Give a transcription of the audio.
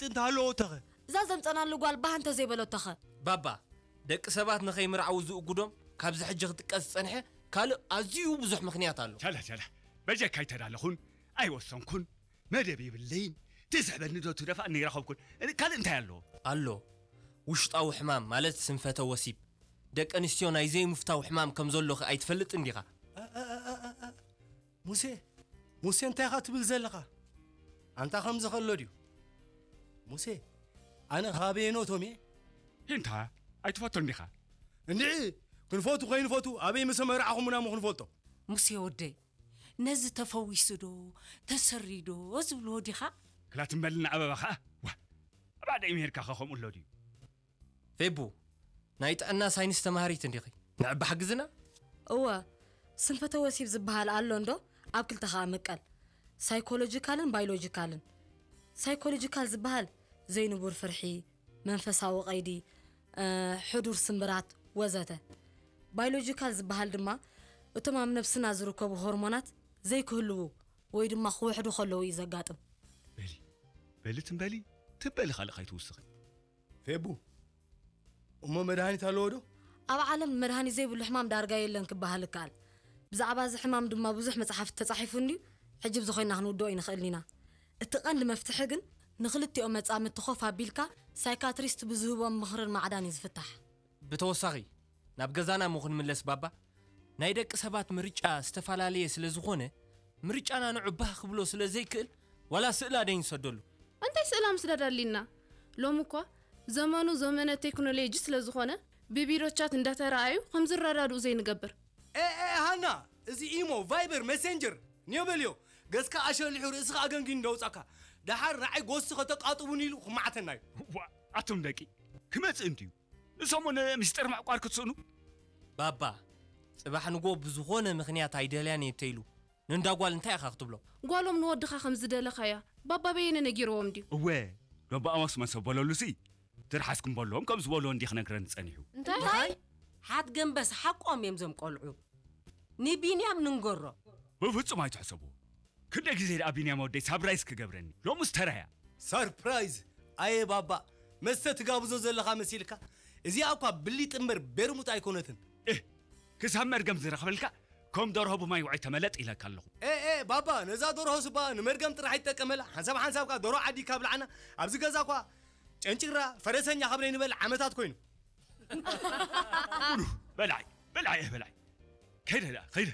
እንተሃለዎ ተኸ? እዛ ዘምጸናሉ ጓል ባህ እንተዘይበለቶኸ? ባባ፣ ደቂ ሰባት ንኸይምርዓዉ ዝእጉዶም ካብዚ ሕጂ ክጥቀስ ዝጸንሐ ካልእ ኣዝዩ ብዙሕ ምኽንያት ኣሎ። ቻላ ቻላ፣ በጀካ ኣይተዳለኹን፣ ኣይወሰንኩን፣ መደብ የብለይን። ትስሕበኒ ዶ ትደፋእኒ ይረኸብኩን። ካልእ እንታይ ኣለዎ? ኣሎ። ውሽጣዊ ሕማም ማለት ስንፈተ ወሲብ። ደቂ ኣንስትዮ ናይ ዘይምፍታው ሕማም ከም ዘሎኺ ኣይትፈልጥን ዲኻ? ሙሴ፣ ሙሴ እንታይ ኢኻ ትብል ዘለኻ? ኣንታ ከምዚ ከሎ ድዩ? ሙሴ፣ ኣነ ካበየኖቶም እየ? እንታ ኣይትፈቶን ዲኻ? እንድዒ ክንፈቱ ከይንፈቱ ኣበይ ምስ መርዓኹምና እሞ ክንፈልጦ። ሙሴ ወደይ፣ ነዚ ተፈዊሱ ዶ ተሰሪ ዶ ዝብልዎ ዲኻ? ክላትምበልና ኣበባ ኸዓ ዋ፣ ኣባደይ ምሄድካ ኸ ከምኡ ኣሎ ድዩ? ፌቡ፣ ናይ ጥዕና ሳይንስ ተማሃሪት እንዲኺ። ንዕባ ሓግዝና። እወ፣ ስንፈተ ወሲብ ዝበሃል ኣሎ እንዶ ኣብ ክልተ ኸኣ ምቀል፣ ሳይኮሎጂካልን ባዮሎጂካልን። ሳይኮሎጂካል ዝበሃል ዘይንቡር ፍርሒ፣ መንፈሳዊ ቀይዲ፣ እ፣ ሕዱር ስምብራት ወዘተ። ባዮሎጂካል ዝበሃል ድማ እቶም ኣብ ነብስና ዝርከቡ ሆርሞናት ዘይክህልዉ ወይ ድማ ክውሕዱ ከለዉ እዩ ዘጋጥም። በሊ በሊ ትም በሊ ትም በሊ ካልእ ከይትውስኺ። ፌቡ፣ እሞ መድሃኒት ኣለዎ ዶ? ኣብ ዓለም መድሃኒት ዘይብሉ ሕማም ዳርጋ የለን ክበሃል ይከኣል። ብዛዕባ እዚ ሕማም ድማ ብዙሕ መጽሓፍቲ ተጻሒፉ እንድዩ፣ ሕጂ ብዝኾይና ክንውድኦ ኣይንኽእልን ኢና። እቲ ቀንዲ መፍትሒ ግን ንኽልቲኦም መጻምድቲ ኮፍ ኣቢልካ ሳይካትሪስት ብዝህቦም ምኽርን ማዕዳን እዩ ዝፍታሕ። ብተወሳኺ ናብ ገዛና እሞ ክንምለስ ባባ፣ ናይ ደቂ ሰባት ምርጫ ዝተፈላለየ ስለ ዝኾነ ምርጫና ንዑ ባህ ክብሎ ስለ ዘይክእል ዋላ ስእላ ደይ ንሰደሉ። እንታይ ስእላ ምስዳድ ኣሊና? ሎም እኳ ዘመኑ ዘመነ ቴክኖሎጂ ስለ ዝኾነ ብቢሮ ቻት እንዳተረኣዩ ከም ዝረዳድኡ ዘይንገብር። ኤ ኤ ሃና፣ እዚ ኢሞ፣ ቫይበር፣ መሴንጀር ኒዮ በልዮ። ገጽካ ኣሸሊሑ ርእስኻ ኣገንጊኑ ደውጻካ። ደሓር ንዓይ ጎሲ ከተቃጥቡኒ ኢሉ ክማዕተና እዩ። ዋ፣ ኣቱም ደቂ ክመጽእ እንድዩ። ንሰሙን ምስጢር ምዕቋር ክትስእኑ። ባባ፣ ጽባሕ ንጎ ብዝኾነ ምኽንያት ኣይደልያን እየ እንተኢሉ ንእንዳ ጓል እንታይ ኢኻ ክትብሎ? ጓሎም ንወድኻ ከም ዝደለኻያ ባባ በየነ ነጊርዎም ድዩ? እወ፣ ዶባ ኣዋስ መሰ በለሉሲ ትርሓስኩም በልዎም ከም ዝበልዎ እንዲ ክነግረኒ ጸኒሑ። እንታይ? ሓት ገንበስ ሓቆም እዮም ዞም ቆልዑ። ንቢንያም ንንገሮ። ብፍጹም ኣይትሕሰቡ። ክንደይ ግዜ ደኣ ቢንያም ወደይ ሳብራይዝ ክገብረኒ ሎሙስ ተራያ። ሰርፕራይዝ። ኣየ ባባ፣ መስተ ትጋብዞ ዘለኻ መሲልካ? እዚኣ እኳ ብሊጥ እምበር ቤርሙጥ ኣይኮነትን። እህ፣ ክሳብ መርገም ዝረኽበልካ ከም ደርሆ ብማይ ውዓይ ተመለጥ ኢለካ ኣለኹ። ኤ ኤ ባባ፣ ነዛ ደርሆ ስባ ንመርገም ጥራሕ ይጠቀመላ። ሓንሳብ ሓንሳብ ከኣ ደርሆ ዓዲ ካብ ልዓና ኣብዚ ገዛ እኳ ጨንጭራ ፈረሰኛ ካብ ነይንበል ዓመታት ኮይኑ። በልዓይ በልዓይ በልዓይ። ከይደ ደኣ ከይደ።